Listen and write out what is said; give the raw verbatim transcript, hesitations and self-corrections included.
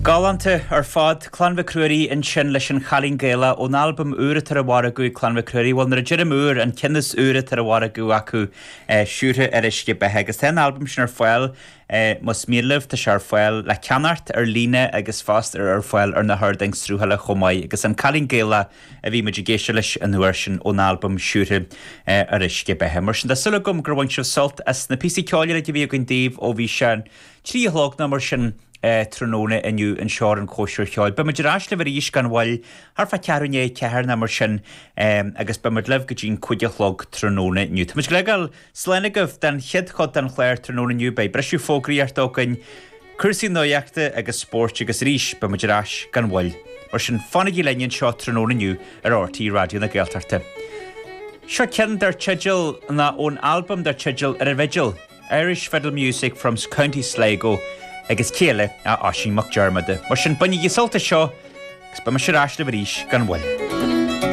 Galánta ar fad Clann Mhic Ruairí ansin leis an Chailín Gaelach ón albam úr atá ar an mhargadh ag Clann Mhic Ruairí, bhuel nuair a deirim úr an ceann is úire atá ar an mhargadh acu Siúrtha ar Uisce Beatha agus tá an albam sin ar fáil más mian libh tá sé ar fáil le ceannacht ar líne agus fosta ar ar fáil ar na hardáin sruthála chomh maith agus an Cailín Gaelach a bhí muid ag éisteacht leis an uair sin ón albam Siúrtha ar Uisce Beatha. Mar sin tá súil agam gur bhain sibh sult as na píosaí ceoil a bhí againn daoibh ó bhí sé trí a chlog nó mar sin tráthnóna inniu anseo ar an Chóisir Cheoil. Beimid ar ais libh arís gan mhoill thart fá ceathrú i ndiaidh a ceathair nó mar sin agus beimid libh go dtí'n cúig a chlog tráthnóna inniu. Tá muid ag fágáil slán agaibh den chéad chuid den chlár tráthnóna inniu beidh briseadh fógraíochta againn, cúrsaí nuachta agus spóirt agus arís beimid ar ais gan mhoill. Mar sin fanaigí linn anseo tráthnóna inniu ar RTÉ Raidió na Gaeltachta. Seo ceann dar teideal ná ón albam dar teideal Ar an bhFidil, Irish Fiddle Music from County Sligo agus cé eile ach Oisín Mac Diarmada. Mar sin bainigí sult as seo agus beidh mise ar ais libh arís gan mhoill.